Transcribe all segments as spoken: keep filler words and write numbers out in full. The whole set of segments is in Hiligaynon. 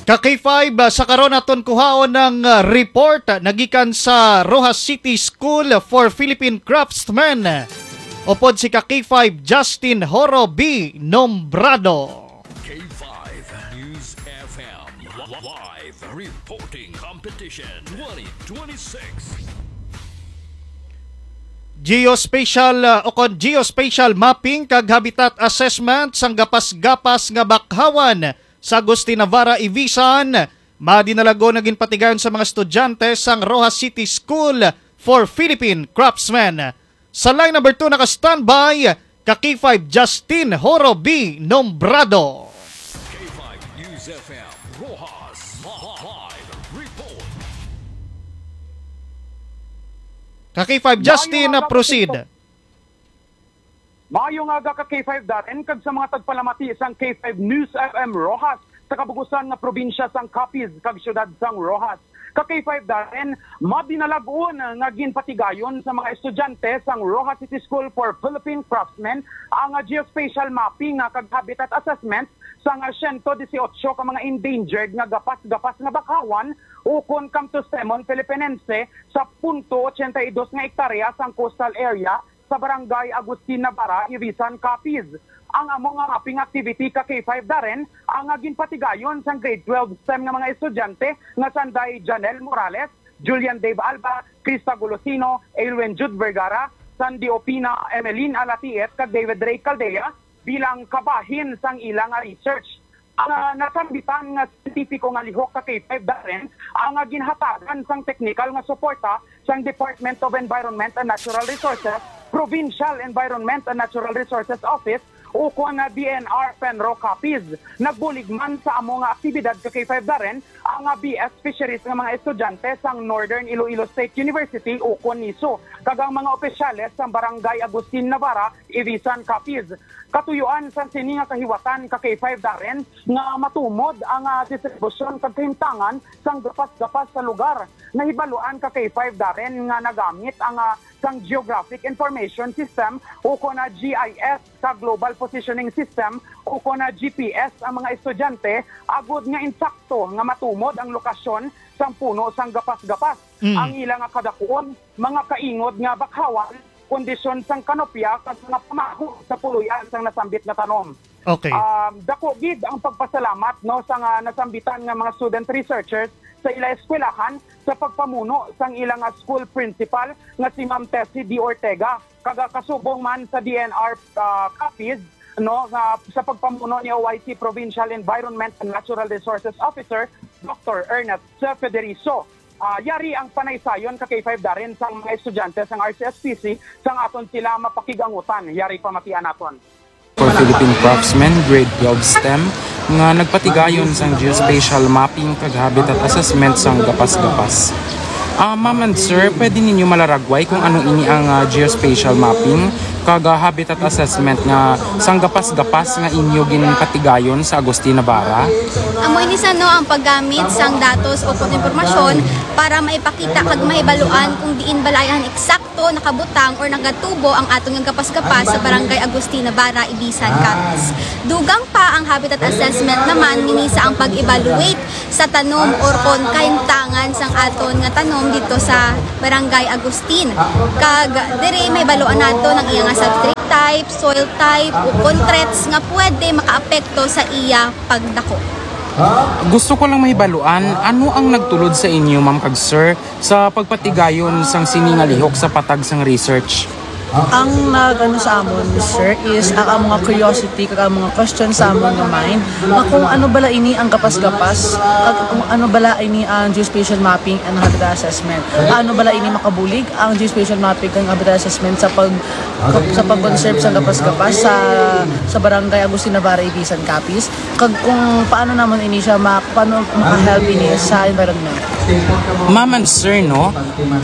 Ka K five, ah, sa karon aton kuhaon ang, ah, report, ah, nagikan sa Roxas City School for Philippine Craftsmen. Upod si ka K five Justin Horo B Nombrado. K five News F M, live reporting competition twenty twenty-six. Geospatial, ah, o kon geospatial mapping kag habitat assessment sang gapas-gapas nga bakhawan sa Agustin Navarra, Ivisan, madinalagon nga ginpatigayon sa mga estudyante sang Roxas City School for Philippine Craftsmen. Sa line number two naka-standby ka K five Justin Horo B Nombrado. K five News F M, Roxas, live report. Ka K five Justin, Maayong aga, proceed. Maayong aga ka K five Darren, kag sa mga tagpalamati sang K five News F M Roxas sa kabug-usan nga probinsya sang Capiz kag siyudad sang Roxas. Ka K five Darren, madinalagon nga ginpatigayon sa mga estudyante sang Roxas City School for Philippine Craftsmen ang geospatial mapping nga kag habitat assessment sang siyento disiotso ka mga endangered nga gapas-gapas nga bakhawan ukon Camptosemon philippinense sa punto ochenta y dos nga ektarya sang coastal area sa Barangay Agustin Navarra, Ivisan, Capiz. Ang amo nga mapping activity ka K five Darren ang ginpatigayon sang grade twelve STEM nga mga estudyante nga sanday Janelle Morales, Julian Dave Alba, Krista Golosino, Aylwin Jude Vergara, Sandy Opina, Emeline Alatiet, kag David Ray Caldea bilang kabahin sang ila nga research. Ang, ah, nasambitan nga siyentipiko nga lihok ka K five Darren ang, ah, ginhatagan sang teknikal nga suporta sang Department of Environment and Natural Resources, Provincial Environment and Natural Resources Office, ukon na D N R Penro Capiz. Nagbulig man sa amo nga aktibidad ka K five Darren ang, ah, B S Fisheries nga mga estudyante sang Northern Iloilo State University, ukon niso, kag ang mga opisyales sang Barangay Agustin Navarra, Ivisan, Capiz. Katuyuan sang sini nga kahiwatan ka K five Darren nga matumod ang, ah, distribusyon kag kahimtangan sang gapas-gapas sa lugar. Nahibaluan ka K five Darren nga nagamit ang, ah, sang Geographic Information System ukon na G I S, sa Global Positioning System ukon na G P S ang mga estudyante agud nga insakto nga matumod ang lokasyon sang puno sang gapas-gapas, Mm. ang ila nga kadakuon, mga kaingod nga bakhawan, kondisyon sang kanopya kag mga pamaho sa puloy-an sang nasambit nga tanom. Okay. Um, dako gid ang pagpasalamat, no, sa nga nasambitan nga mga student researchers sa ila eskwelahan sa pagpamuno sang ila nga school principal nga si Ma'am Tessie D Ortega, kag, ah, kasubong man sa D N R, ah, Capiz, no, nga sa pagpamuno ni O I C Provincial Environment and Natural Resources Officer, Doctor Ernest Federizo. Ah, yari ang panaysayon ka K five Darren sang mga estudyante sang R C S P C sang aton sila mapakig-angutan. Yari pamatian naton. For Philippine Craftsmen, Grade twelve STEM, nga nagpatigayon sang geospatial mapping kag habitat assessment sang gapas-gapas. Ah, ma'am and sir, pwede ninyo malaragway kung ano ini ang, ah, geospatial mapping kag, ah, habitat assessment nga sang gapas-gapas nga inyo ginpatigayon sa Agustin Navarra? Amo ini sa, no, ang paggamit sang datos o kon impormasyon para maipakita kag mahibaluan kung diin bala ang eksakto nakabutang or nagatubo ang aton nga gapas-gapas sa Barangay Agustin Navarra, Ivisan, Capiz. Dugang pa ang habitat assessment naman, nini sa ang pag-evaluate sa tanom or kon kahimtangan sang aton nga tanom dito sa Barangay Agustin. Kag diri mahibaluan nato ang iya nga substrate type, soil type, o kon threats nga pwede makaapekto sa iya pagdako. Gusto ko lang mahibaluan, ano ang nagtulod sa inyo, ma'am kag sir, sa pagpatigayon sang sini nga lihok sa patag sang research? Ang nagano sa amon, sir, is ang among mga curiosity kag ang mga question sa amon nga mind nga kung ano bala ini ang gapas-gapas, kag kung ano bala ini ang geospatial mapping and habitat assessment. Paano bala ini makabulig ang geospatial mapping kag habitat assessment sa pag, sa pag-conserve sa gapas-gapas sa, sa Barangay Agustin Navarra, Ivisan, Capiz? Kag kung paano namon ini siya ma-, paano maka-help ini sa environment? Ma'am and sir, no?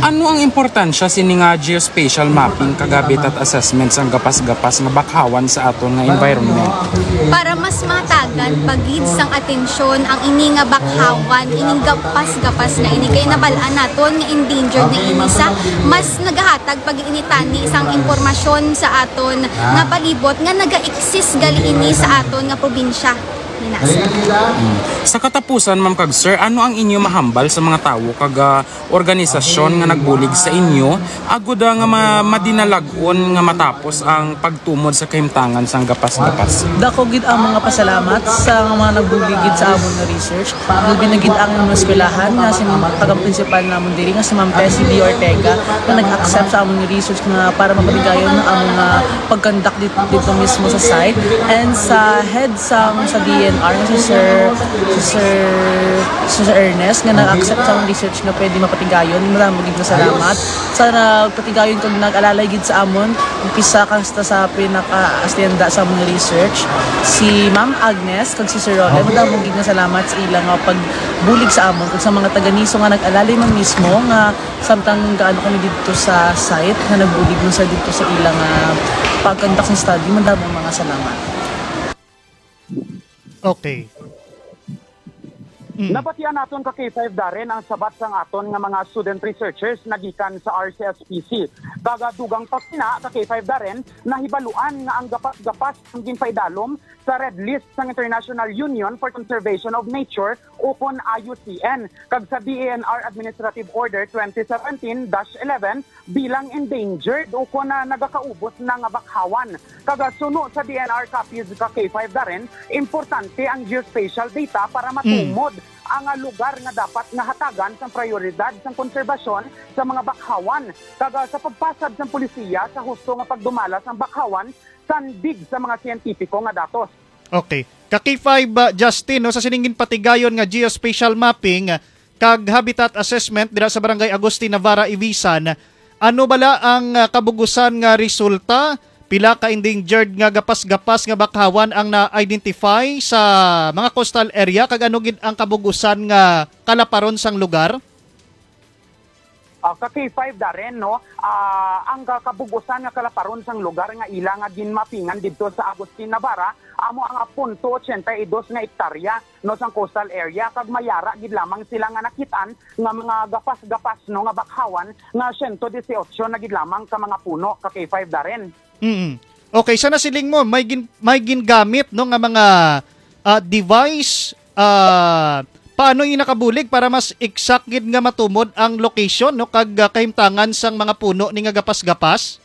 Ano ang importansya sini nga geospatial mapping kag habitat assessment sang gapas-gapas nga bakhawan sa aton nga environment? Para mas mahatagan pa gid sang atensyon ang ini nga bakhawan, ining gapas-gapas na ini, kay nabal-an naton nga endangered na ini sa mas nagahatag pag-initani sang impormasyon sa aton nga palibot nga naga-exist gali ini sa aton nga probinsya. Sa katapusan, ma'am kag sir, ano ang inyo mahambal sa mga tawo kag, ah, organisasyon nga nagbulig sa inyo agud, ah, nga ma-, madinalag-on nga matapos ang pagtumod sa kahimtangan sang gapas-gapas? Dako gid ang mga pasalamat sa mga nagbulig gid sa amon nga research. Labi na gid ang mga eskwelahan nga sin-, tagang-prinsipal namon diri nga si Ma'am Tessie D. Ortega nga nag-accept sa amon nga research nga para mapatigayon ang amon nga pag-conduct dit-, dito mismo sa site. And sa head sang, sa D N R, si Sir, si Sir, si Sir Ernest, nga nag-accept sa among research nga pwede mapatigayon. Madamo gid nga salamat. Sa nagpatigayon kag nag-alalay gid sa amon, umpisa hasta sa pinaka-astenda sa among research, si Ma'am Agnes kag si Sir Roland. Madamo gid nga salamat sa ila nga pagbulig sa amon kag sa mga taga-NISO nga nag-alalay man mismo nga samtang gaano kami didto sa site nga nagbulig man sa didto sa ilang, ah, pag-conduct ng study. Madamo mga salamat. Okay. Mm. Nabatian naton ka K five Darren ang sabat sang aton nga mga student researchers nagikan sa R C S P C. Kag dugang pa sina ka K five Darren, nahibaluan nga ang gapas-gapas ang ginpaidalom sa Red List sang International Union for Conservation of Nature ukon I U C N, kag sa D E N R Administrative Order twenty seventeen dash eleven bilang endangered ukon na nagakaubos na nga bakhawan. Kag suno sa D N R Capiz ka K five Darren, importante ang geospatial data para matumod ang, ah, lugar nga dapat nga hatagan sang prioridad sang konserbasyon sa mga bakhawan, kag, ah, sa pagpasad sang polisiya sa husto nga pagdumala sang bakhawan sandig sa mga siyentipiko nga datos. Okay. Ka K five, ah, Justin, no, sa sining ginpatigayon nga geospatial mapping, ah, kag habitat assessment dira sa Barangay Agustin Navarra, Ivisan, ano bala ang, ah, kabug-usan nga resulta? Pila ka endangered nga gapas-gapas nga bakhawan ang na-identify sa mga coastal area, kag ano gid ang kabug-usan nga kalaparon sang lugar? Ah, ka K five Darren, no? Ah, ang ka-, kabug-usan nga kalaparon sang lugar nga ila nga ginmapingan didto sa Agustin Navarra amo ang punto ochenta y dos nga ektarya, no, sang coastal area, kag mayara gid lamang sila nga nakit-an nga mga gapas-gapas, no, nga bakhawan nga siyento disiotso na gid lamang ka mga puno, ka K five Darren. Mm. Okay, sa nasiling mo, may gin-, may gingamit, no, nga mga, ah, device, ah, paano ini nakabulig para mas exact gid nga matumod ang location, no, kag, ah, kahimtangan sang mga puno ni nga gapas-gapas?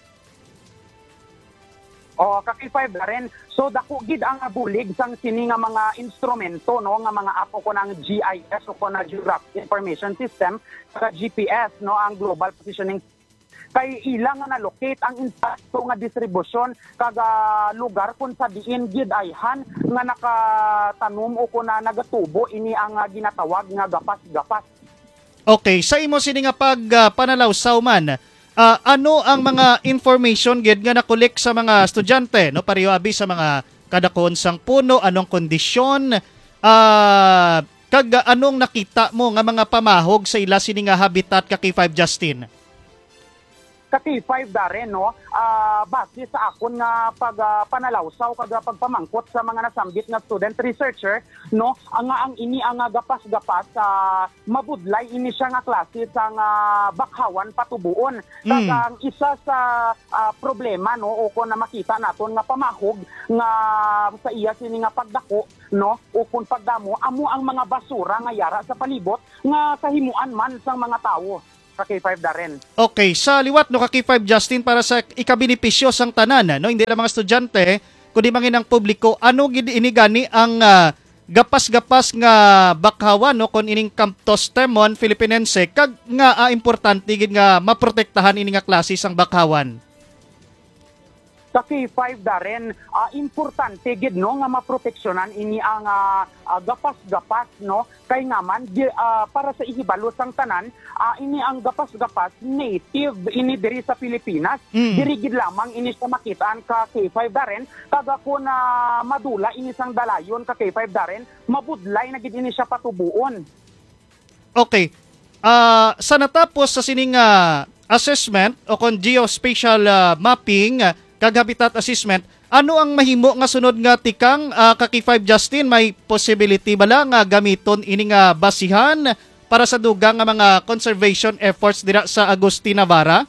O, ka K five Darren, so dako gid ang bulig sang sini nga mga instrumento, no, nga mga app o kon ang G I S o kon ang Geographic Information System, sa G P S, no, ang Global Positioning, kay ila nga na-locate ang insakto nga distribusyon kag, ah, lugar kung sa diin gid ayhan nga nakatanom o kon na nagatubo ini ang, ah, ginatawag nga gapas-gapas. Okay, sa imo sini nga pag, ah, panalawsaw man, ah, ano ang mga information gid nga na-collect sa mga estudyante, no, pareho abi sa mga kadakuon sang puno, anong kondisyon, ah, kag anong nakita mo nga mga pamahog sa ila sini nga habitat, ka K five Justin? Ka K five Darren, no, ah, base sa akon nga pag, ah, panalawsaw kag, ah, pagpamangkot sa mga nasambit nga student researcher, no, ang, ang ini ang, ah, gapas-gapas, ah, mabudlay ini siya nga klase sang, ah, bakhawan patubuon. Kag Mm. ang isa sa, ah, problema, no, o kon na makita naton nga pamahog nga sa iya sini nga pagdako, no, o kon pagdamo, amo ang mga basura nga yara sa palibot nga kahimuan man sang mga tawo, ka K five Darren. Okay, sa liwat, no, ka K five Justin, para sa ikabenepisyo sang tanan, no, hindi lang mga estudyante, kundi man ang publiko, ano gid ini gani ang, ah, gapas-gapas nga bakhawan, no, kon ining Camptothemon philippinense, kag nga, ah, importante gid nga maprotektahan ini nga klase sang bakhawan? Ka K five Darren, ah, importante gid, no, nga maproteksyonan ini ang, ah, ah, gapas-gapas, no, kay nga man gi-, ah, para sa ihibalo sang tanan, ah, ini ang gapas-gapas native ini diri sa Pilipinas. Mm. Diri gid lamang ini siya makitaan, ka K five Darren, kag ako na madula ini sang dalayon, ka K five Darren, mabudlay na gid ini siya patubuon. Okay. Ah, sa natapos sa sining, ah, assessment o kon geospatial, ah, mapping, ah, kag habitat assessment, ano ang mahimo nga sunod nga tikang, ah, ka K five Justin? May possibility bala nga gamiton ini nga basihan para sa dugang nga mga conservation efforts dira sa Agustin Navarra?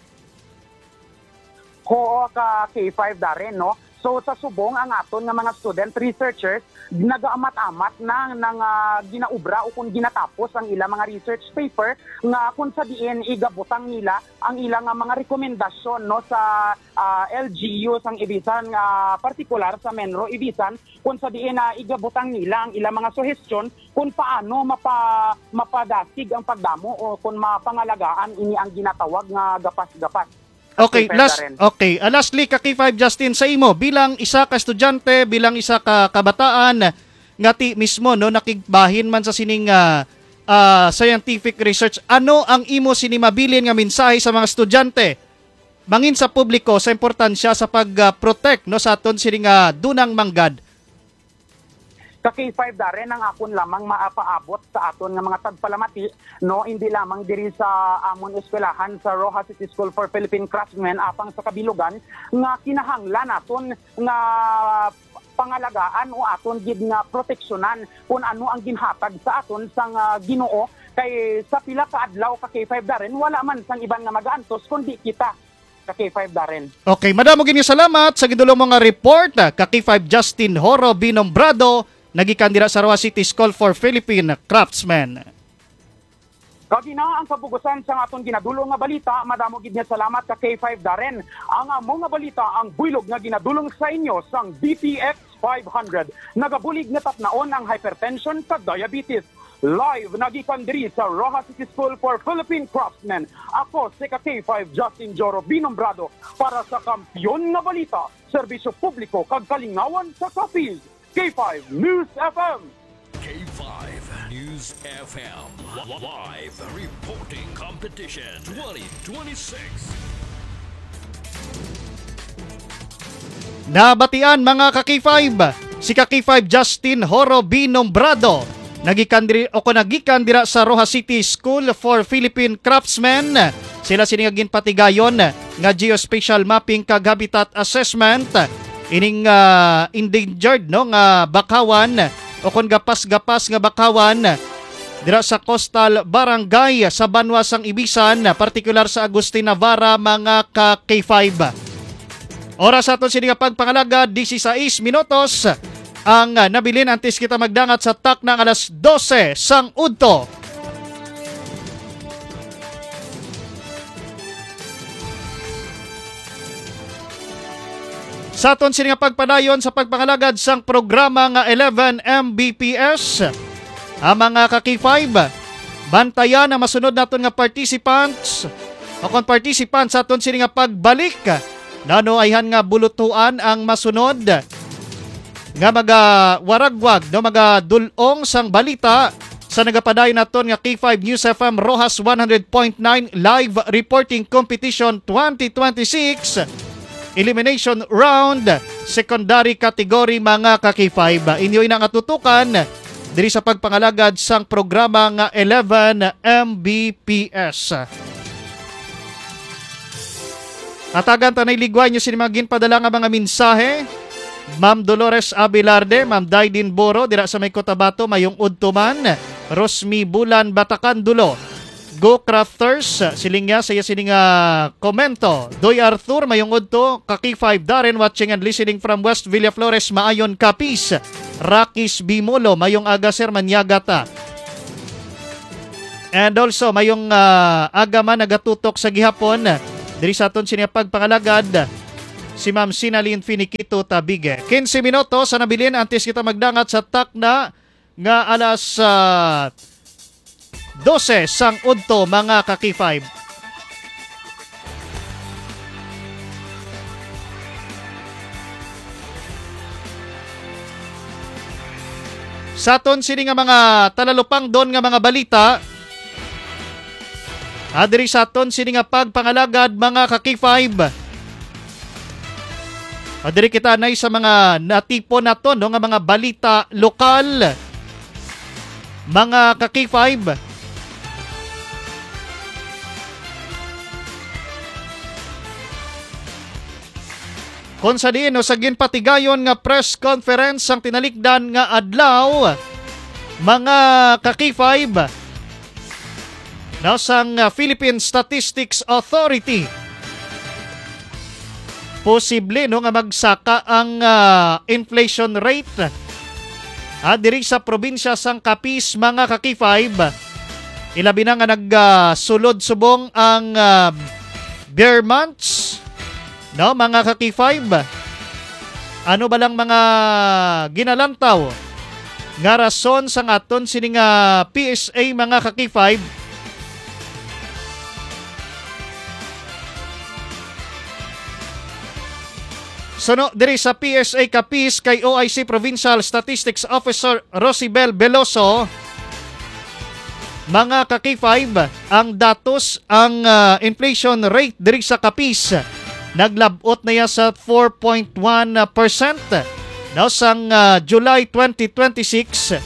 Oo, ka K five Darren, no? So, sa subong, ang aton nga mga student researchers nagaamat-amat na nga ginaubra o kung ginatapos ang ilang mga research paper nga kung sa diin igabutang nila ang ilang nga mga rekomendasyon, no, sa, ah, L G U sang Ibisan, nga partikular sa MENRO Ibisan, kung sa diin na igabutang nila ang ilang mga suhestyon kung paano mapa-, mapadasig ang pagdamo o kung mapangalagaan ini ang ginatawag nga gapas-gapas. Okay, K five last, Darren. Okay. Ah, lastly, ka K five Justin, sa imo, bilang isa ka estudyante, bilang isa ka kabataan, nga ti mismo, no, nakigbahin man sa sining, ah, ah, scientific research, ano ang imo sini mabilin nga mensahe sa mga estudyante, mangin sa publiko, sa importansya sa pag, ah, protect, no, sa aton sini nga dunang manggad? Ka K five Darren, ang akon lamang mapaabot sa aton nga mga tagpalamati, no, hindi lamang diri sa amon eskwelahan sa Roxas City School for Philippine Craftsmen apang sa kabilugan, nga kinahanglan naton nga pangalagaan o aton gid nga proteksyonan kung ano ang ginhatag sa aton sang, ah, Ginoo, kay sa pila ka adlaw, ka K five Darren, wala man sang iban nga magaantos kundi kita, ka K five Darren. Okay, madamo gid nga salamat sa gindulong mo nga report, ah, ka K five Justin Horo Binombrado, nagikan dira sa Roxas City School for Philippine Craftsmen. Kag ina ang kabugusan sang aton ginadulong nga balita. Madamo gid nga salamat, ka K five Darren. Ang amo nga balita ang buylog nga ginadulong sa inyo sang D T X five hundred. Nagabulig nga tapnaon ang hypertension kag diabetes. Live nagikan diri sa Roxas City School for Philippine Craftsmen. Ako si ka K five Justin Joro Binombrado para sa Kampiyon nga Balita, Serbisyo Publiko kag Kalingawan sa Capiz, K five News F M. K five News F M. Li-, live reporting competition twenty twenty-six. Nabatian, mga ka K five, si ka K five Justin Horo B. Nombrado, nagikan diri, o kon nagikan dira sa Roxas City School for Philippine Craftsmen. Sila sini nga ginpatigayon nga geospatial mapping kag habitat assessment ining, ah, endangered, no, nga bakawan o kon gapas-gapas nga bakawan dira sa Coastal Barangay sa banwa sang Ibisan, partikular sa Agustin Navarra, mga ka K five. Oras sa aton sini nga pagpangalagad, dieciséis minutos ang, ah, nabilin antes kita magdangat sa takna nga alas dose sang udto. Sa aton sini nga pagpadayon sa pagpangalagad sang programa nga eleven M B P S, ang mga ka K five, bantayan ang masunod naton nga participants o kon participants sa aton sini nga pagbalik. Nano ayhan nga bulutuan ang masunod nga magawaragwag, no, magadul-ong sang balita sa nagapadayon naton nga K five News F M Roxas one hundred point nine Live Reporting Competition twenty twenty-six Elimination Round, Secondary Category, mga ka K five. Inyo ina nga tutukan diri sa pagpangalagad sang programa nga eleven M B P S. Hatagan ta na iligway nyo sini mga ginpadala nga mga mensahe. Ma'am Dolores Abelarde, Ma'am Daidin Boro, dira sa may Cotabato, mayong udto man. Rosmi Bulan, Batacan, Dulo. Go Crafters, siling niya sa iya sining, ah, komento. Doy Arthur, mayong udto. Kaki five Darren, watching and listening from West Villaflores, Maayon, Capiz. Rakis Bimolo, mayong aga, sir, manyaga ta. And also, mayong, ah, aga man nagatutok sa gihapon diri sa aton sini nga pagpangalagad, si Ma'am Sinalyn Finiquito Tabigue. Quince minutos sa nabilin antes kita magdangat sa takna nga alas, ah, dose sang udto, mga ka-K five. Sa aton sini nga mga talalupangdon nga mga balita, ah, diri sa aton sini nga pagpangalagad, mga ka-K five, ah, diri kita anay sa mga natipon naton, no, nga mga balita lokal, mga ka-K five. Kon sa diin, no, sa ginpatigayon nga press conference sang tinalikdan nga adlaw, mga ka-K five, no, sang, ah, Philippine Statistics Authority. posible, no, nga magsaka ang, ah, inflation rate, ah, diri sa probinsya sang Capiz, mga ka-K five. Ilabi na nga nag, ah, sulod subong ang, ah, ber months, no, mga ka-K five. Ano ba lang mga ginalantaw nga rason sang aton sini nga P S A, mga ka-K five? Suno diri sa P S A Capiz kay O I C Provincial Statistics Officer Rosibel Veloso, mga ka-K five, ang datos, ang, ah, inflation rate diri sa Capiz naglab-ot na ya sa four point one percent, no, sang, ah, July twenty twenty-six,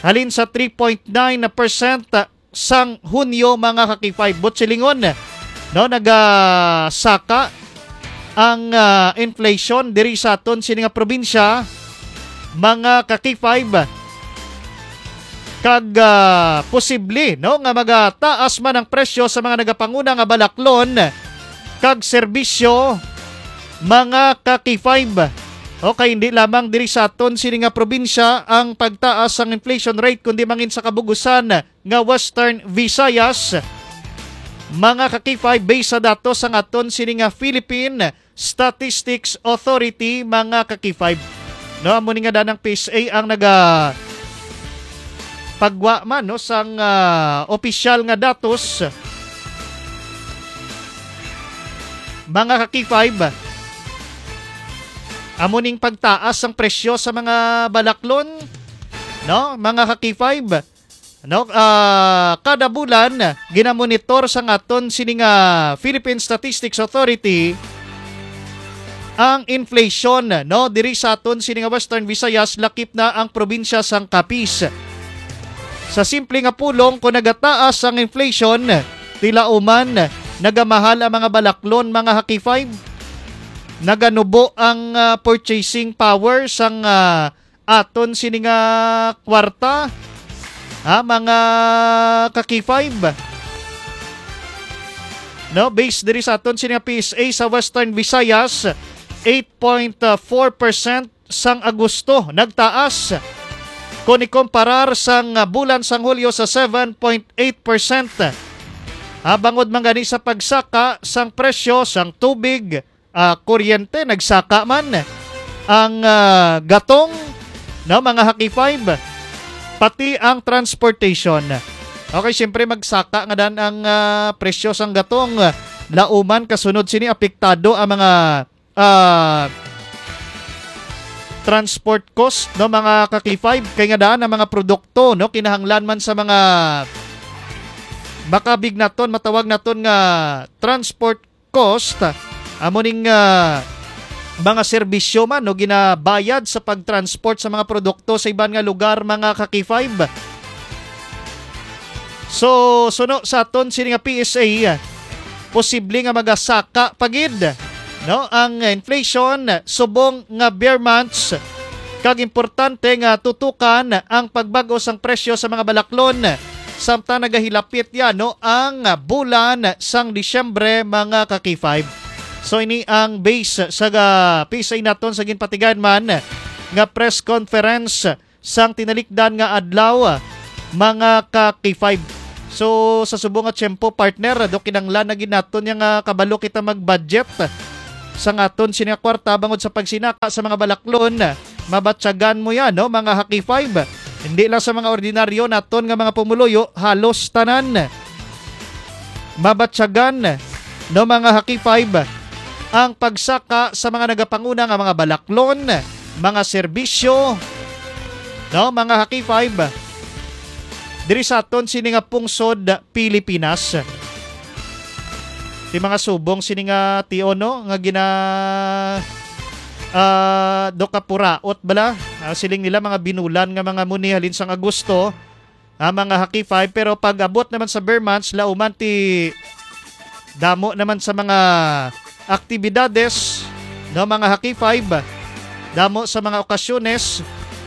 halin sa three point nine percent sang Hunyo, mga ka-K five. Buot silingon, no, nagasaka ang, ah, inflation diri sa aton sini nga probinsya, mga ka-K five. Kag, ah, posible, no, nga magataas man ang presyo sa mga nagapanguna nga balaklon kag serbisyo, mga ka-K five. Okay, hindi lamang diri sa aton sini nga probinsya ang pagtaas sang inflation rate, kundi mangin sa kabugusan nga Western Visayas, mga ka-K five, based sa datos sang aton sini nga Philippine Statistics Authority, mga ka-K five. No, amo ni nga danang P S A ang naga pagwa man, no, sang, ah, opisyal nga datos, mga ka-K five. Amo ning pagtaas sang presyo sa mga balaklon, no, mga ka-K five. No, ah, kada bulan, ginamonitor sang aton sini nga Philippine Statistics Authority ang inflation, no, diri sa aton sini nga Western Visayas, lakip na ang probinsya sang Capiz. Sa simple nga pulong, kung nagataas ang inflation, tilauman nagamahal ang mga balaklon, mga ka-K five. Naganubo ang, ah, purchasing power sang, ah, aton sini nga kwarta, ha, mga ka-K five. No, based diri sa aton sini nga P S A sa Western Visayas, eight point four percent sang Agosto nagtaas kon ikomparar sang bulan sang Hulyo sa seven point eight percent. Ha, bangod man gani sa pagsaka sang presyo sang tubig, ah, kuryente, nagsaka man ang, ah, gatong, no, mga ka-K five, pati ang transportation. Okay, siyempre magsaka nga dan ang, ah, presyo sang gatong. Lauman, kasunod sini, apektado ang mga, ah, transport cost, no, mga ka-K five, kay nga daan ang mga produkto, no, kinahanglan man sa mga makabig naton, matawag naton nga transport cost, amo ning, ah, mga serbisyo man, no, ginabayad sa pagtransport sa mga produkto sa iban nga lugar, mga ka-K five. So, suno sa aton sini nga P S A, posible nga magasaka pa gid, no, ang inflation subong nga ber months, kag importante nga tutukan ang pagbag-o sang presyo sa mga balaklon samtang nagahilapit ya, no, ang bulan sang Disyembre, mga ka-K five. So, ini ang base sa ga-, P S A naton sa ginpatigayon man nga press conference sang tinalikdan nga adlaw, mga ka-K five. So, sa subong nga tiyempo, partner, do kinanglan na gid naton ya nga kabalo kita mag-budget sang aton sini nga kwarta bangod sa pagsinaka sa mga balaklon. Mabatyagan mo yan, no, mga ka-K five. Hindi lang sa mga ordinaryo naton nga mga pumuluyo, halos tanan. Mabatyagan, no, mga ka-K five, ang pagsaka sa mga nagapanguna nga mga balaklon, mga serbisyo, no, mga ka-K five, diri sa aton sini nga pungsod, Pilipinas. Ti mga subong sini nga tion, no, nga gina, ah, do kapuraot bala. Ah, siling nila mga binulan nga mga muni halin sang Agosto, ah, mga ka-K five, pero pag abot naman sa ber months, lauman ti damo naman sa mga aktibidades, no, mga ka-K five, damo sa mga okasyones.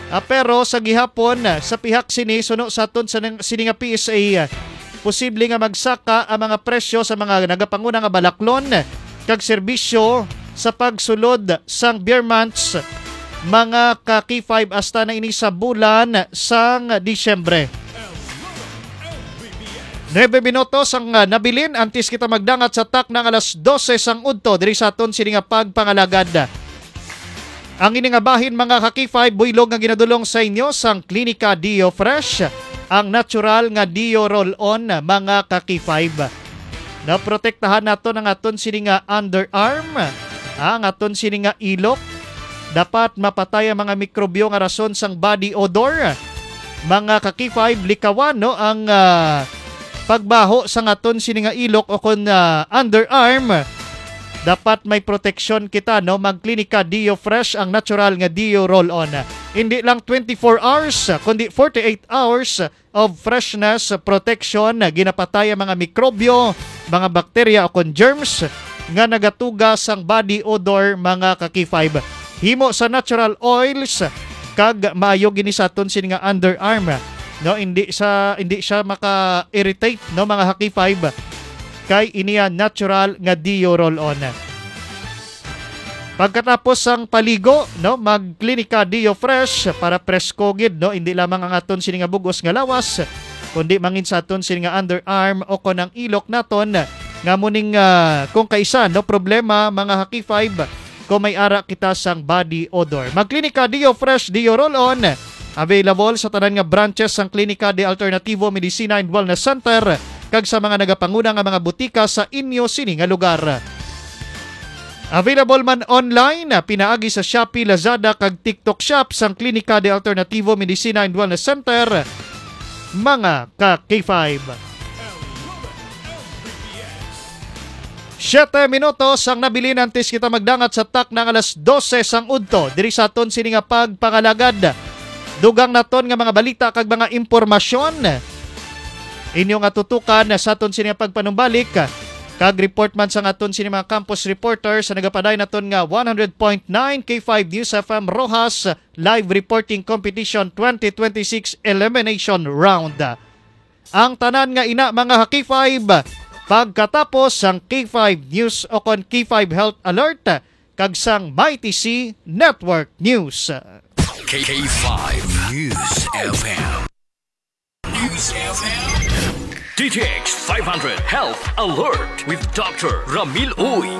Ah, pero sa gihapon, sa pihak sini, suno sa aton sa nang-, sini nga P S A, posible nga magsaka ang mga presyo sa mga nagapanguna nga balaklon kag serbisyo, sa pagsulod sang beer months, mga ka K five, hasta na ini sa bulan sang Disyembre. Nuebe minutos ang, ah, nabilin antes kita magdangat sa takna nga alas dose sang udto diri sa aton sini nga pagpangalagad. Ang ini nga bahin, mga ka K five, buylog nga ginadulong sa inyo sang Klinika Dio Fresh, ang natural nga Dio Roll-On, mga ka K five. Naprotektahan naton ang aton sini nga underarm, ah, ang aton sini nga ilok. Dapat mapatay ang mga mikrobyo nga rason sang body odor. Mga ka K five, likawan, no, ang, ah, pagbaho sang aton sini nga ilok o kon, ah, underarm. Dapat may proteksyon kita, no? Magklinika Dio Fresh, ang natural nga Dio Roll-On. Hindi lang twenty-four hours, kundi forty-eight hours of freshness protection. Ginapatay ang mga mikrobyo, mga bakterya o kon germs nga nagatuga sang body odor, mga ka K five. Himo sa natural oils, kag maayo gini sa aton sini nga underarm, no? Hindi sa, hindi siya maka-irritate, no, mga ka K five, kay iniya natural nga Dio Roll-On. Pagkatapos sang paligo, no, magklinika Dio Fresh para presko gid, no, hindi lamang ang aton sini nga bug-os nga lawas, kundi mangin sa aton sini nga underarm o kon ang ilok naton, nga muning, ah, kung kaisa, no, problema, mga ka K five, kung may ara kita sang body odor. Magklinika Dio Fresh, Dio Roll-On, available sa tanan nga branches sang Klinika de Alternativo Medicina and Wellness Center kag sa mga nagapanguna nga mga butika sa inyo sini nga lugar. Available man online, pinaagi sa Shopee, Lazada, kag TikTok Shop sang Klinika de Alternativo Medicina and Wellness Center, mga ka K five. Siyete minutos ang nabilin antes kita magdangat sa takna nga alas dose sang udto diri sa aton sini nga pagpangalagad. Dugang naton nga mga balita kag mga impormasyon inyo nga tutukan sa aton sini nga pagpanumbalik, kag report man sang aton sini mga campus reporter sa nagapadayon naton nga one hundred point nine K five News F M Roxas Live Reporting Competition twenty twenty-six Elimination Round. Ang tanan nga ina, mga ka K five, pagkatapos sang K five News o kon K five Health Alert kag sang Mighty C Network News. K five News F M. News F M. D T X five hundred Health Alert with Doctor Ramil Uy.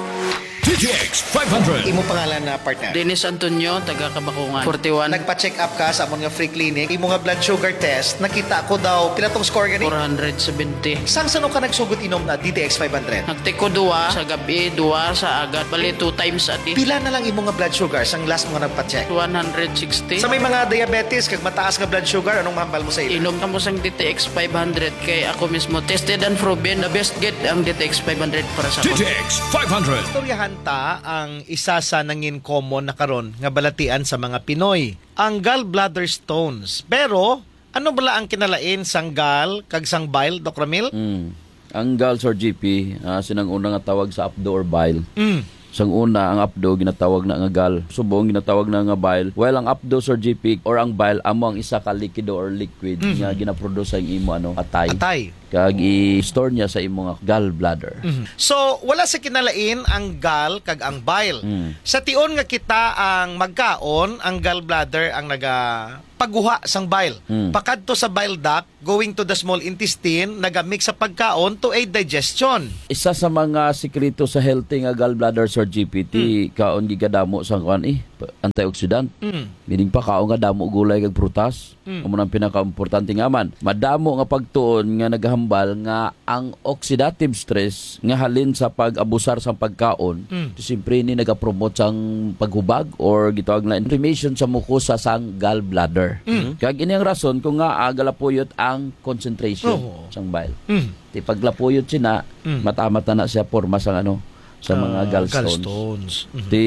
D T X five hundred. Imo pangalan na partner? Dennis Antonio, taga Kabakungan. Forty-one. Nagpa-check up ka sa amon nga free clinic. Imo nga blood sugar test, nakita ko daw, pila tong score gani? Four hundred seventy. Sang sano ka nagsugod inom na D T X five hundred? Nagtiko duwa sa gabi, duwa sa agad. Bali, two times a day. Pila na lang imo nga blood sugar sang last mo nga nagpa-check? One hundred sixty. Sa may mga diabetes kag mataas nga blood sugar, anong mahambal mo sa ila? Inom kamo sang D T X five hundred kay ako mismo tested and proven, the best gid ang D T X five hundred para sa D T X five hundred. Istoryahan ta ang isa sa nangin common na karon nga balatian sa mga Pinoy, ang gallbladder stones. Pero ano bala ang kinalain sang gall kag sang bile, Doc Ramil? Mm. Ang gall, Sir G P, ah, sinang una nga tawag sa apdo or bile. Mm. Sang una, ang apdo ginatawag na nga gall. Subong ginatawag na nga bile. Well, ang apdo, Sir G P, or ang bile, amo ang isa ka likido or liquid Mhm. nga ginaproduce ang imo, ano, atay. Atay. Kag i-store niya sa imo nga gallbladder. Mhm. So, wala sa kinalain ang gall kag ang bile. Mm. Sa tion nga kita ang magkaon, ang gallbladder ang nagapaguha sang bile. Mm. Pakadto sa bile duct, going to the small intestine, nagamix sa pagkaon to aid digestion. Isa sa mga sikreto sa healthy nga gallbladder, Sir G P T, Mm. kaon gid kadamo sa kuan, eh, antioxidant. Mm. Meaning pa, kaon nga damo gulay kag prutas. Mm. Amo nang pinakaimportante nga man. Madamo nga pagtuon nga naghambal nga ang oxidative stress nga halin sa pag-abusar sang pagkaon, Mm. siyempre ini nagapromote sang paghubag or gitawag na inflammation sa mukosa sang gallbladder. Mm. Kag ini ang rason kung nga, ah, galapuyot ang concentration Oo. sang bile. Mm. Ti paglapuyot sina, Mm. matamat na na siya porma sang ano, sa mga Ah, gallstones. gallstones. Mhm. Ti,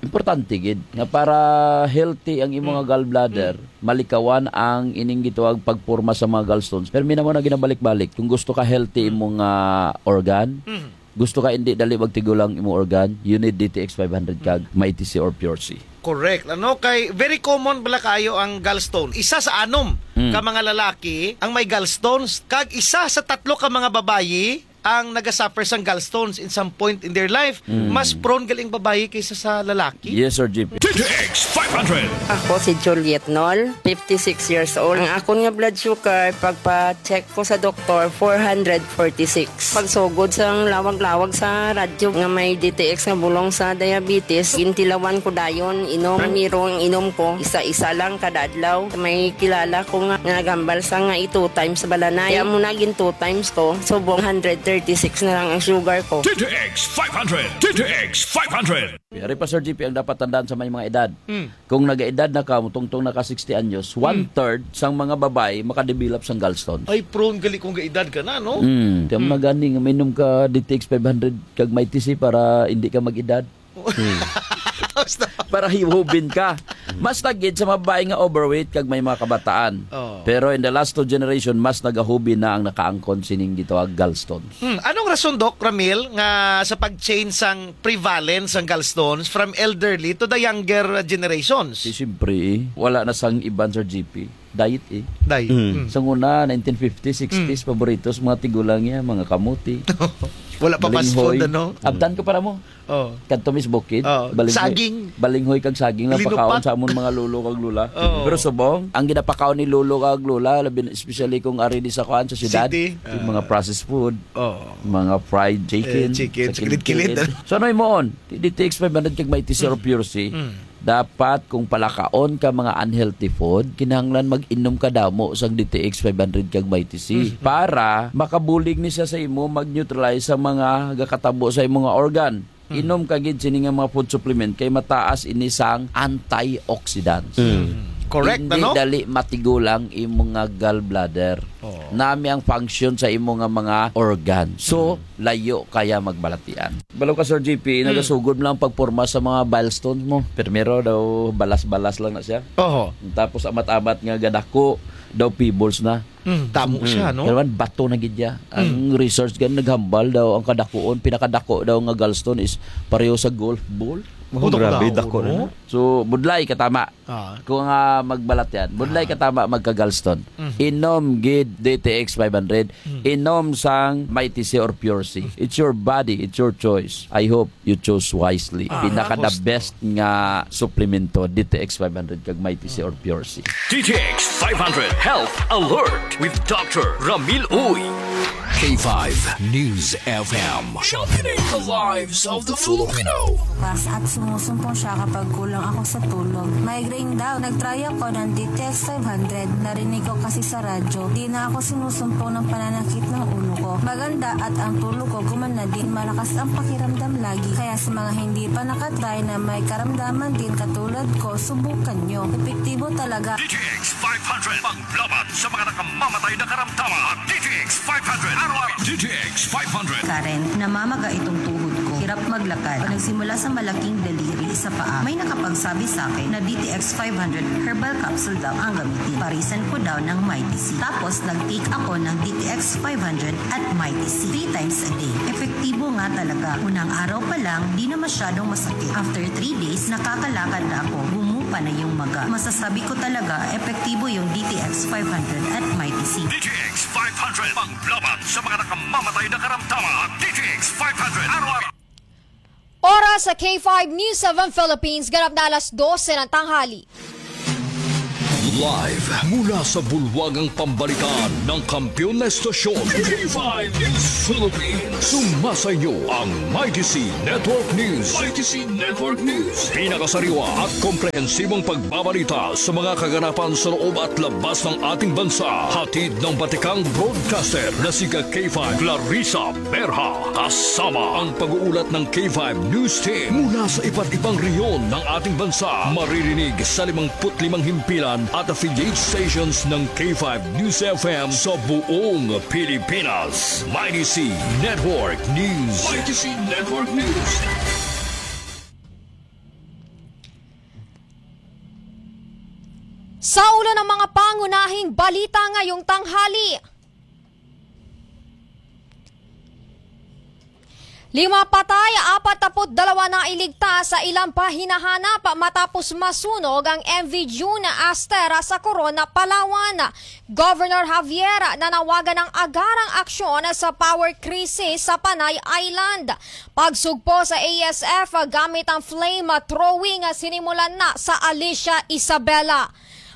importante gid nga para healthy ang imo nga Mm. gallbladder, Mm. malikawan ang ining gitawag pagporma sa mga gallstones. Pero minamo na ginabalik-balik, kung gusto ka healthy Mm. imo nga organ, Mm. gusto ka hindi dali magtigulang imo organ, you need D T X five hundred kag Mm. Mighty C or Pure C. Correct. Ano, kay very common bala kaayo ang gallstone. Isa sa anom Mm. ka mga lalaki ang may gallstones, kag isa sa tatlo ka mga babayi ang nagasuffer sang gallstones in some point in their life, Mm. mas prone gali ang babayi kaysa sa lalaki. Yes, Sir G P. T T X five hundred. Ako si Juliet Nol, fifty-six years old. Ang akon nga blood sugar, pagpa-check ko sa doktor, four hundred forty-six. Pagsugod sang lawag-lawag sa radyo nga may D T X nga bulong sa diabetes, gintilawan ko dayon, inom, primero ang inom ko, isa-isa lang kada adlaw. May kilala ko nga, nga nagambal sa nga i-two times balanay. Kaya mo na gin two times ko, subong hundred thirty-six na lang ang sugar ko. T T X five hundred. T T X five hundred. Yari pa, Sir G P, ang dapat tandaan sa may mga edad. Mm. Kung nag-edad na ka, mutungtong na ka sixty anyos, Mm. one-third sang mga babae makadevelop sang gallstones. Ay, prone gali kung gaedad ka na, no? Mm. Kaya Mm. mga gani nga mainom ka D T X five hundred kag Mighty C para hindi ka mag-edad. Mm. Tapos na. Para hiwhubin ka. Mas tagid sa mga babae nga overweight kag may mga kabataan. Oh. Pero in the last two generation, mas nagahubin na ang nakaangkon sining gitawag gallstones. Hmm, anong rason, Doc Ramil, nga sa pag-change sang prevalence sang gallstones from elderly to the younger generations? Si siyempre, eh, wala na sang iban, Sir G P. Diet, eh. Diet. Mm. Mm. Sa una, nineteen fifties, sixties, Mm. paborito sa mga tigulang niya, mga kamuti. Wala pa fast food, Balinghoy. Ano? Abtan ko para mo. Oh. Kadto mis bukid, Oh. Balinghoy, Saging. Balinghoy kag saging lang Linupat. Pakaon sa amon mga lolo kag lola. Oh. Pero subong, ang ginapakaon ni lolo kag lola, labi na, especially kung ari di sa kuan, sa syudad, City. Yung mga Ah. processed food, Oh. mga fried chicken, Eh, chicken, sa sa kilid-kilid. Kilid-kilid. So, ano mo on? D T X five hundred kag Mighty C or Mm. Pure C. Mm. Dapat kung palakaon ka mga unhealthy food, kinahanglan mag-inom ka damo sang D T X five hundred kag Mighty C Mm. para makabulig ni siya sa imo, mag-neutralize sa mga gakatabo sa imo nga organ. Hmm. Inom ka gid sini nga mga food supplement kay mataas ini sang antioxidants. Hmm. Correct, Hindi ano? Dali matigulang imo nga gallbladder. Oo. Nami ang function sa imo nga mga organ. So, Hmm. layo kaya magbalatian. Balo ka, Sir G P, Hmm. nagasugod mo lang pagporma sa mga bile stones mo. Primero daw, balas-balas lang na siya. Oho. Tapos amat-amat nga gadako, daw pebbles na. Mm, damo Mm. siya, no? Pero man, bato na gid niya. Ang Mm. research gan naghambal daw, ang kadakuon, pinakadako daw nga gallstone is pareho sa golf ball. Oh, Putok grabe, daw, dako no? Na. So, budlay katama. Ah. Kung, ah, magbalat yan, budlay Ah. katama magka-gallstone. Mm. Inom gid D T X five hundred. Mm. Inom sang Mighty C or Pure C. Mm. It's your body, it's your choice. I hope you chose wisely. Ah. Pinaka the Tapos, best nga suplemento, D T X five hundred kag Mighty C or Pure C. D T X five hundred Health Alert with Doctor Ramil Uy. K five News F M. Championing the lives of the Filipino. Bukas at sumusumpong siya kapag kulang ako sa tulog. Migraine daw. Nag-try ako ng D T X five hundred. Narinig ko kasi sa radyo. Di na ako sinusumpong ng pananakit ng ulo ko. Maganda at ang tulog ko gumanda din. Malakas ang pakiramdam lagi. Kaya sa mga hindi pa nakatry na may karamdaman din katulad ko, subukan nyo. Epektibo talaga. D T X five hundred, panglaban sa mga nakamamatay na karamdaman. D T X five hundred, araw-araw. D T X five hundred. Karen, namamaga itong tuhod ko. Hirap maglakad. Nagsimula sa malaking daliri sa paa. May nakapagsabi sa akin na D T X five hundred herbal capsule daw ang gamitin. Parisan ko daw ng Mighty C. Tapos, nag-take ako ng D T X five hundred at Mighty C three times a day. Epektibo nga talaga. Unang araw pa lang, di na masyadong masakit. After three days, nakakalakad na ako. Gumupa na yung maga. Masasabi ko talaga, epektibo yung D T X five hundred at Mighty C. D T X five hundred, panglaban sa mga nakamamatay na karamdaman. D T X five hundred, araw-araw. Oras sa K five News seven Philippines, ganap na alas dose ng tanghali. Live mula sa bulwagang pambalitaan ng kampiyon na estasyon, K five News Philippines. Sumasa inyo ang Mighty C Network News. Mighty C Network News. Pinakasariwa at komprehensibong pagbabalita sa mga kaganapan sa loob at labas ng ating bansa. Hatid ng batikang broadcaster na si Ka K five Clarissa Berha. Kasama ang pag-uulat ng K five News Team mula sa iba't ibang rehiyon ng ating bansa. Maririnig sa limangput limang himpilan at affiliate stations ng K five News F M sa buong Pilipinas. Mighty C Network News. Mighty C Network News. Sa ulo ng mga pangunahing balita ngayong tanghali. Lima patay, apat na put dalawa nailigtas sa ilang pahinahanap matapos masunog ang M V June Aster sa Corona, Palawan. Governor Javier nanawagan ng agarang aksyon sa power crisis sa Panay Island. Pagsugpo sa A S F gamit ang flame throwing sinimulan na sa Alicia Isabela.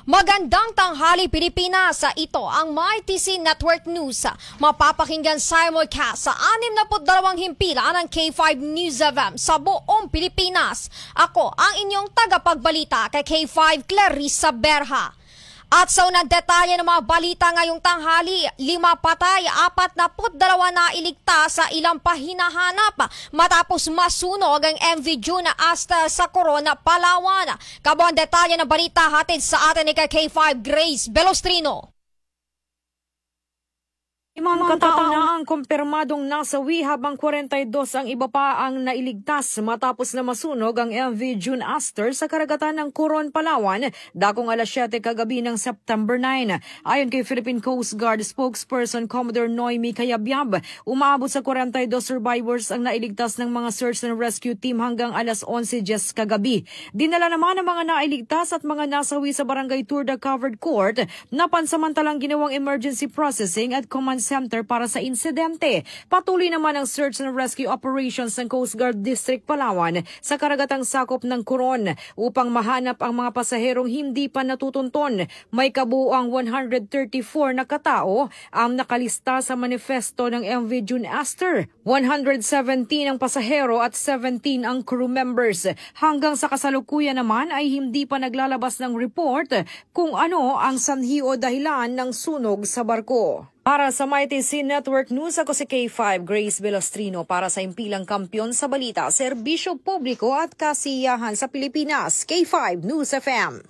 Magandang tanghali, Pilipinas. Ito ang Mighty C Network News. Mapapakinggan simulcast sa anim na put dalawang himpilan ng K five News F M sa buong Pilipinas. Ako ang inyong tagapagbalita kay K five, Clarissa Berha. At sa unang detalye ng mga balita ngayong tanghali, lima patay, apat na put dalawa nailigtas sa ilang pahinahanap matapos masunog ang M V June Aster sa Corona, Palawan. Kamo ang detalye ng balita hatid sa atin ni K five Grace Belostrino. Limang katao na ang kumpirmadong nasawi, habang kwarenta y dos ang iba pa ang nailigtas matapos na masunog ang M V June Aster sa karagatan ng Coron, Palawan, dakong alas siyete kagabi ng September nine. Ayon kay Philippine Coast Guard spokesperson Commodore Noemi Cayabyab, umaabot sa kwarenta y dos survivors ang nailigtas ng mga search and rescue team hanggang alas onse diyes kagabi. Dinala naman ang mga nailigtas at mga nasawi sa Barangay Turda Covered Court na pansamantalang ginawang emergency processing at command center para sa insidente. Patuloy naman ang search and rescue operations ng Coast Guard District Palawan sa karagatang sakop ng Coron upang mahanap ang mga pasaherong hindi pa natutunton. May kabuoang one hundred thirty-four na katao ang nakalista sa manifesto ng M V June Aster. One hundred seventeen ang pasahero at seventeen ang crew members. Hanggang sa kasalukuyan naman ay hindi pa naglalabas ng report kung ano ang sanhi o dahilan ng sunog sa barko. Para sa Mighty C Network News, ako si K five Grace Velostrino para sa Impilang Kampiyon sa Balita, Serbisyo Publiko at Kasiyahan sa Pilipinas, K five News F M.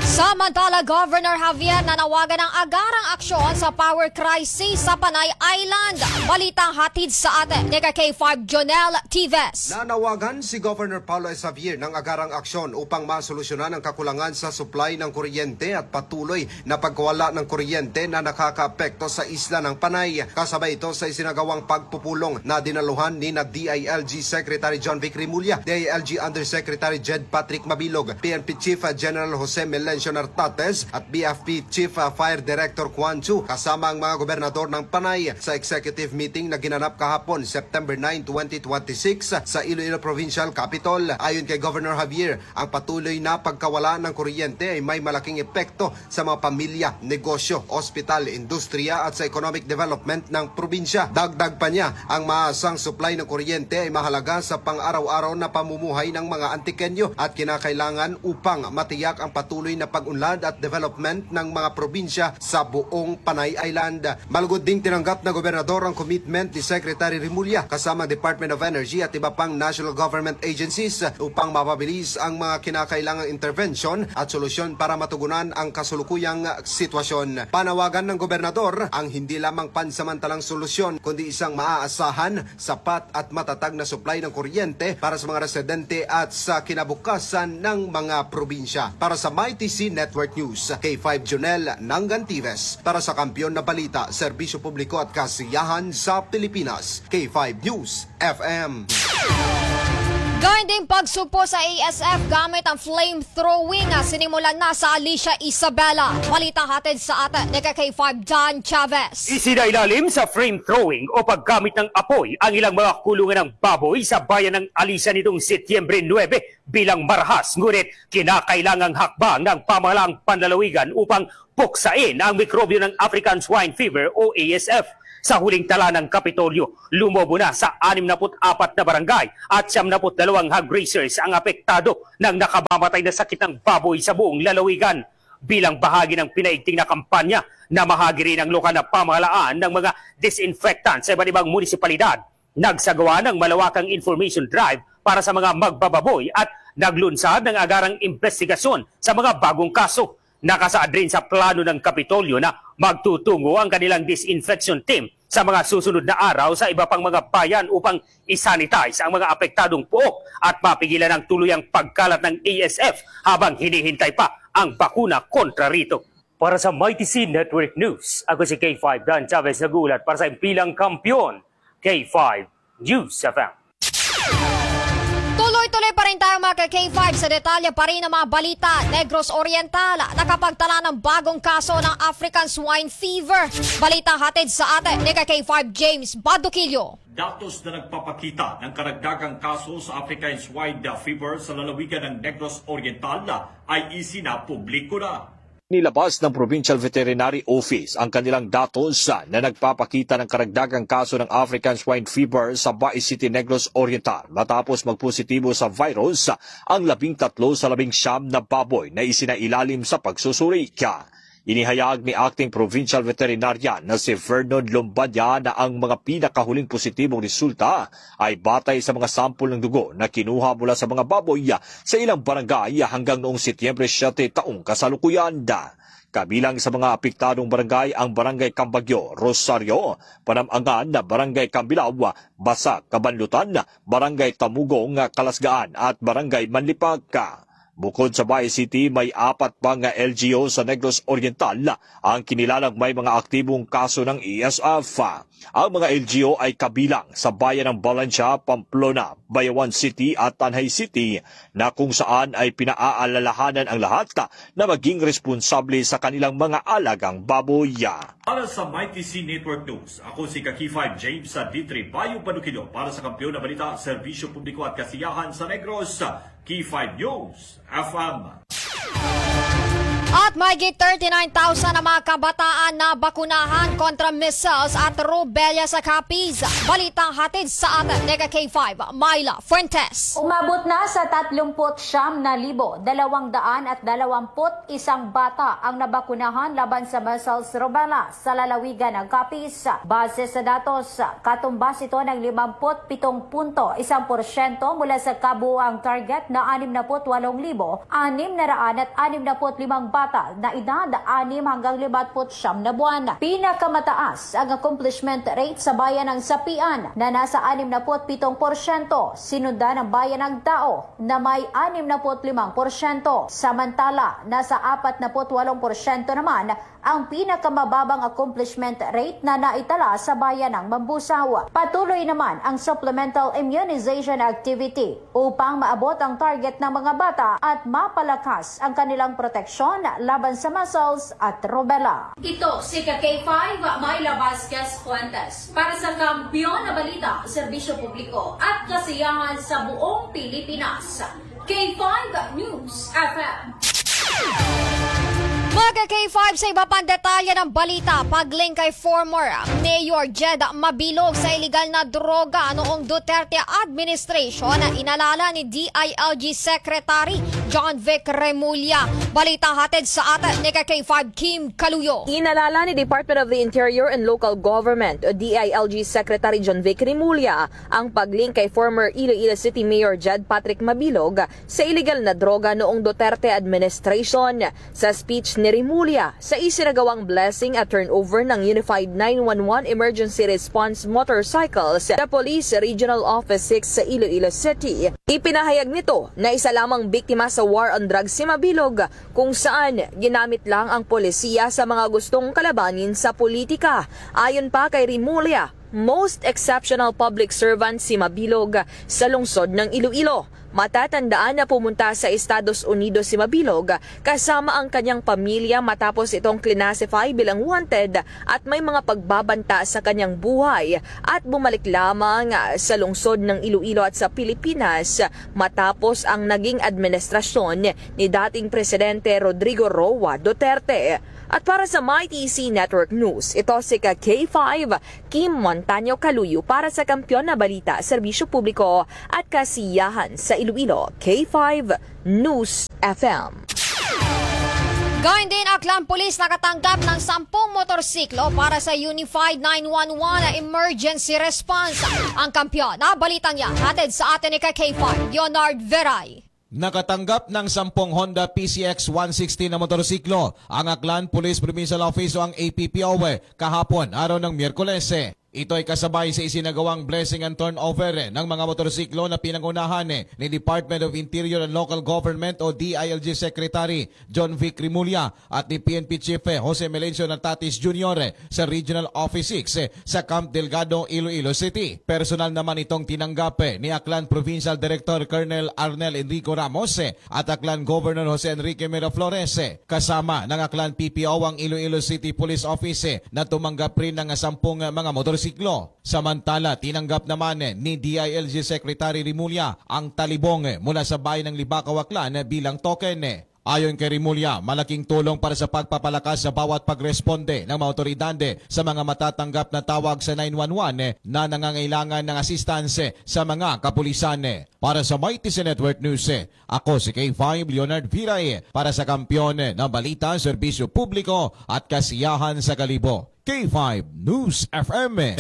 Samantala, Governor Javier nanawagan ng agarang aksyon sa power crisis sa Panay Island. Balitang hatid sa atin ni K five Jonel Tives. Nanawagan si Governor Paolo S. Javier ng agarang aksyon upang masolusyonan ang kakulangan sa supply ng kuryente at patuloy na pagkawala ng kuryente na nakakaapekto sa isla ng Panay. Kasabay ito sa isinagawang pagpupulong na dinaluhan ni na D I L G Secretary John Vic Remulla, D I L G Undersecretary Jed Patrick Mabilog, P N P Chief General Jose Melencio Nartates at B F P Chief Fire Director Juan Chu, kasama ang mga gobernador ng Panay sa executive meeting na ginanap kahapon, September nine, twenty twenty-six, sa Iloilo Provincial Capitol. Ayon kay Governor Javier, ang patuloy na pagkawala ng kuryente ay may malaking epekto sa mga pamilya, negosyo, ospital, industriya at sa economic development ng probinsya. Dagdag pa niya, ang maasang supply ng kuryente ay mahalaga sa pang-araw-araw na pamumuhay ng mga Antiqueño at kinakailangan upang matiyak ang patuloy na pag-unlad at development ng mga probinsya sa buong Panay Island. Malugod ding tinanggap ng gobernador ang commitment ni Secretary Remulla kasama ang Department of Energy at iba pang national government agencies upang mapabilis ang mga kinakailangang intervention at solusyon para matugunan ang kasulukuyang sitwasyon. Panawagan ng gobernador ang hindi lamang pansamantalang solusyon, kundi isang maaasahan, sapat at matatag na supply ng kuryente para sa mga residente at sa kinabukasan ng mga probinsya. Para sa Mighty C Network News, K five Jonel Nangantives. Para sa Kampiyon na Balita, Serbisyo Publiko at Kasiyahan sa Pilipinas, K five News F M. Gayon ding pagsugpo sa A S F gamit ang flame throwing, ah, sinimulan na sa Alicia Isabela. Balita hatid sa atin ni K five John Chavez. Isinailalim sa flame throwing o paggamit ng apoy ang ilang mga kulungan ng baboy sa bayan ng Alicia nitong Setyembre nuebe bilang marahas, ngunit kinakailangang hakbang ng pamahalaang panlalawigan upang puksain ang mikrobyo ng African Swine Fever o A S F. Sa huling tala ng Kapitolyo, lumobo na sa anim na put apat na barangay at siyam na put dalawang hog raisers ang apektado ng nakamamatay na sakit ng baboy sa buong lalawigan. Bilang bahagi ng pinaigting na kampanya, namahagi rin ang lokal na pamahalaan ng mga disinfectant sa iba't ibang munisipalidad. Nagsagawa ng malawakang information drive para sa mga magbababoy at naglunsad ng agarang investigasyon sa mga bagong kaso. Nakasaad rin sa plano ng Kapitolyo na magtutungo ang kanilang disinfection team sa mga susunod na araw sa iba pang mga bayan upang i-sanitize ang mga apektadong puok at mapigilan ang tuluyang pagkalat ng A S F habang hinihintay pa ang bakuna kontra rito. Para sa Mighty C Network News, ako si K five Dan Chavez, nag-uulat para sa Impilang Kampiyon, K five News F M. Tuloy-tuloy pa rin tayo, mga ka-K five, sa detalye pa rin ng mga balita. Negros Oriental, nakapagtala ng bagong kaso ng African Swine Fever. Balita hatid sa atin ni ka-K five James Baduquillo. Datos na nagpapakita ng karagdagang kaso sa African Swine Fever sa lalawigan ng Negros Oriental ay isinapubliko na. Nilabas ng Provincial Veterinary Office ang kanilang datos na nagpapakita ng karagdagang kaso ng African Swine Fever sa Bais City, Negros Oriental, matapos magpositibo sa virus ang labing tatlo sa labing siyam na baboy na isinailalim sa pagsusuri. Inihayag ni Acting Provincial Veterinarian na si Vernon Lombanya na ang mga pinakahuling positibong resulta ay batay sa mga sampol ng dugo na kinuha mula sa mga baboy sa ilang barangay hanggang noong Setyembre siyete taong kasalukuyan. Kabilang sa mga apektadong barangay ang Barangay Cambagyo, Rosario, Panam-angan, Barangay Cambilao, Basak, Kabanlutan, Barangay Tamugong, Kalasgaan, at Barangay Manlipak. Bukod sa Bais City, may apat pa nga L G U sa Negros Oriental, ang kinilalang may mga aktibong kaso ng E S F. Ang mga L G U ay kabilang sa bayan ng Valencia, Pamplona, Bayawan City at Tanjay City, na kung saan ay pinaaalalahanan ang lahat na maging responsable sa kanilang mga alagang baboy. Para sa Mighty C Network News, ako si ka-K five James sa D three Bayo Panukido para sa Kampiyon na Balita, Serbisyo Publiko at Kasiyahan sa Negros, K five News F M. At mahigit thirty-nine thousand ang mga kabataan na bakunahan kontra measles at rubella sa Capiz. Balita hatid sa atin ni ka-K five, Myla Fuentes. Umabot na sa tatlumpu't siyam na libo, dalawang daan at dalawampu't isang bata ang nabakunahan laban sa measles rubella sa lalawigan ng Capiz. Base sa datos, katumbas ito ng limampu't pitong punto isang porsyento mula sa kabuoang target na anim na put walong libo anim na raan at anim na put limang bata na edad anim hanggang limapu't siyam na buwan. Pinakamataas ang accomplishment rate sa bayan ng Sapian na nasa anim na put pitong porsyento, sinundan ang bayan ng Tao na may anim na put limang porsyento, samantala nasa apat na put walong porsyento naman ang pinakamababang accomplishment rate na naitala sa bayan ng Mambusao. Patuloy naman ang supplemental immunization activity upang maabot ang target ng mga bata at mapalakas ang kanilang proteksyon laban sa measles at rubella. Ito si ka-K five, Myla Vasquez Fuentes, para sa Kampiyon na Balita, Serbisyo Publiko at Kasiyahan sa buong Pilipinas. K five News F M. Mga ka-K five, sa iba pang detalye ng balita, pagling kay former Mayor Jed Mabilog sa iligal na droga noong Duterte administration, inalala ni D I L G Secretary John Vic Remulla. Balita hatid sa atin ni ka-K five Kim Kaluyo. Inalala ni Department of the Interior and Local Government o D I L G Secretary John Vic Remulla ang pagling kay former Iloilo City Mayor Jed Patrick Mabilog sa iligal na droga noong Duterte administration. Sa speech ni Remulla sa isinagawang blessing at turnover ng Unified nine one one Emergency Response Motorcycles sa Police Regional Office six sa Iloilo City, ipinahayag nito na isa lamang biktima sa war on drugs si Mabilog, kung saan ginamit lang ang polisiya sa mga gustong kalabanin sa politika. Ayon pa kay Remulla, most exceptional public servant si Mabilog sa lungsod ng Iloilo. Matatandaan na pumunta sa Estados Unidos si Mabilog kasama ang kanyang pamilya matapos itong classify bilang wanted at may mga pagbabanta sa kanyang buhay, at bumalik lamang sa lungsod ng Iloilo at sa Pilipinas matapos ang naging administrasyon ni dating Presidente Rodrigo Roa Duterte. At para sa Mighty C Network News, ito si ka-K five Kim Montaño Kaluyo para sa Kampiyon na Balita, Serbisyo Publiko at Kasiyahan sa Iloilo, K five News F M. Gayun din, Aklan Police nakatanggap ng sampung motorsiklo para sa Unified nine one one Emergency Response. Ang Kampiyon na Balitang yan, hatid sa atin ni ka-K five Leonard Veray. Nakatanggap ng sampung Honda P C X one sixty na motorsiklo ang Aklan Police Provincial Office o ang A P P O kahapon, araw ng Miyerkules. Ito ay kasabay sa isinagawang blessing and turnover ng mga motorsiklo na pinangunahan ni Department of Interior and Local Government o D I L G Secretary John Vic Remulla at ni P N P Chief Jose Melencio Natatis Junior sa Regional Office six sa Camp Delgado, Iloilo City. Personal naman itong tinanggap ni Aklan Provincial Director Colonel Arnel Enrico Ramos at Aklan Governor Jose Enrique Miraflores. Kasama ng Aklan P P O ang Iloilo City Police Office na tumanggap rin ng sampung mga motorsiklo. Samantala, tinanggap naman ni D I L G Secretary Remulla ang talibong mula sa Bayan ng Libakaw, Aklan bilang token. Ayon kay Remulla, malaking tulong para sa pagpapalakas sa bawat pagresponde ng mga awtoridad sa mga matatanggap na tawag sa nine one one na nangangailangan ng assistance sa mga kapulisan. Para sa Mighty C Network News, ako si K five Leonard Viray para sa Kampiyon ng Balita, Serbisyo Publiko at Kasiyahan sa Kalibo, K five News F M.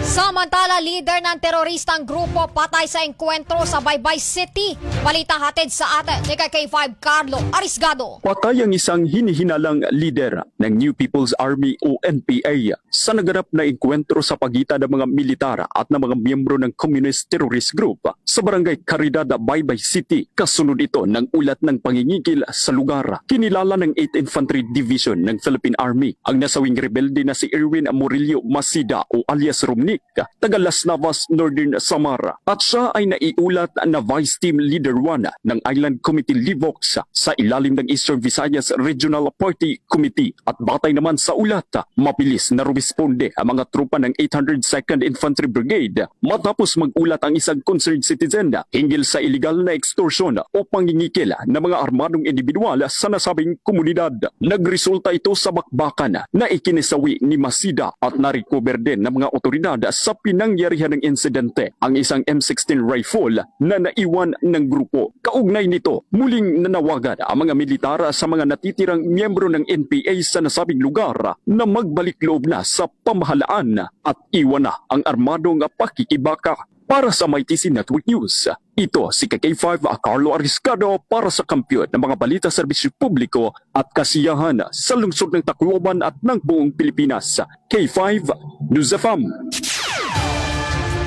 Samantala, lider ng teroristang grupo patay sa engkwentro sa Baybay City. Balita hatid sa atin ni K five Carlo Arisgado. Patay ang isang hinihinalang lider ng New People's Army o N P A sa naganap na engkwentro sa pagitan ng mga militar at ng mga miyembro ng Communist Terrorist Group sa Barangay Caridad, Baybay City. Kasunod ito ng ulat ng pangingigil sa lugar. Kinilala ng eighth Infantry Division ng Philippine Army ang nasawing rebelde na si Erwin Murillo Masida o alias Romnick, taga Las Navas, Northern Samar, at siya ay naiulat na Vice Team Leader one ng Island Committee Livox sa ilalim ng Eastern Visayas Regional Party Committee. At batay naman sa ulat, mabilis na rumisponde ang mga tropa ng eight hundred second Infantry Brigade matapos mag-ulat ang isang concerned citizen hinggil sa iligal na extortion o pangingikil ng mga armadong individual sa nasabing komunidad. Nagresulta ito sa bakbakan na ikinisawi ni Masida at na-recover din ng mga otoridad sa pinangyarihan ng insidente ang isang M sixteen rifle na naiwan ng grupo. Kaugnay nito, muling nanawagan ang mga militar sa mga natitirang miyembro ng N P A sa nasabing lugar na magbalik loob na sa pamahalaan at iwan na ang armadong pakikibaka. Para sa Mighty C Network News, ito si K five Carlo Ariscado para sa Kampiyon ng mga Balita, Serbisyo Publiko at Kasiyahan sa lungsod ng Tacloban at ng buong Pilipinas. K five News F M.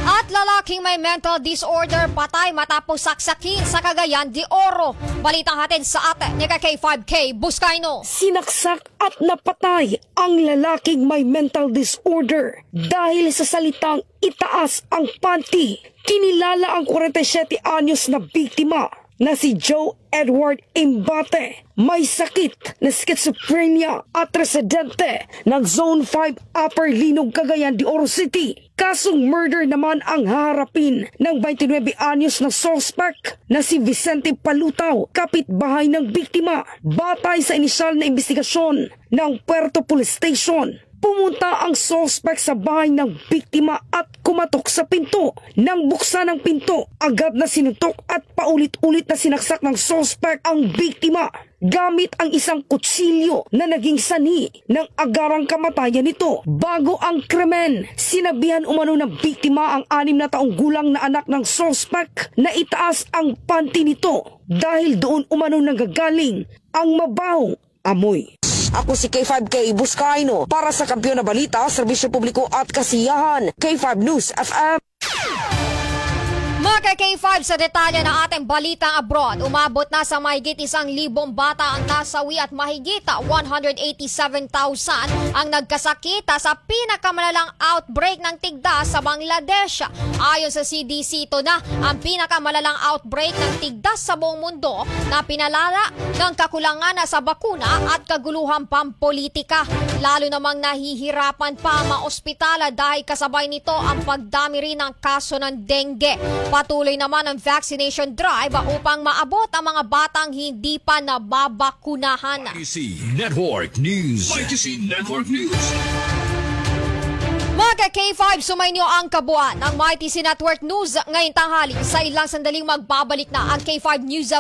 At lalaking may mental disorder patay matapos saksakin sa Cagayan de Oro. Balita hatid sa atin ni K five Kay Buscaino. Sinaksak at napatay ang lalaking may mental disorder dahil sa salitang "itaas ang panty." Kinilala ang forty-seven anyos na biktima na si Joe Edward Imbate, may sakit na schizophrenia at residente ng Zone five Upper Linog, Cagayan de Oro City. Kasong murder naman ang haharapin ng twenty-nine anyos na suspect na si Vicente Palutaw, kapitbahay ng biktima. Batay sa inisyal na investigasyon ng Puerto Police Station, pumunta ang suspect sa bahay ng biktima at kumatok sa pinto. Nang buksan ang pinto, agad na sinuntok at paulit-ulit na sinaksak ng suspect ang biktima gamit ang isang kutsilyo na naging sanhi ng agarang kamatayan nito. Bago ang krimen, sinabihan umano ng biktima ang anim na taong gulang na anak ng suspect na itaas ang panty nito dahil doon umano nanggagaling ang mabahong amoy. Ako si K five Kay Buscaino para sa Kampiyon na Balita, Serbisyo Publiko at Kasiyahan, K five News F M. Mga ka-K five, sa detalye ng ating balitang abroad, umabot na sa mahigit isang libong bata ang nasawi at mahigit one hundred eighty-seven thousand ang nagkasakit sa pinakamalalang outbreak ng tigdas sa Bangladesh. Ayon sa C D C, ito na ang pinakamalalang outbreak ng tigdas sa buong mundo na pinalala ng kakulangan sa bakuna at kaguluhang pampolitika. Lalo namang nahihirapan pa ang mga ospital dahil kasabay nito ang pagdami rin ng kaso ng dengue. Patuloy naman ang vaccination drive upang maabot ang mga batang hindi pa nababakunahan. Mighty C Network News. Mighty C Network News. Mga ka-K five, sumainyo ang kabuuan ng Mighty C Network News ngayong tanghali. Sa ilang sandaling magbabalik na ang K five News of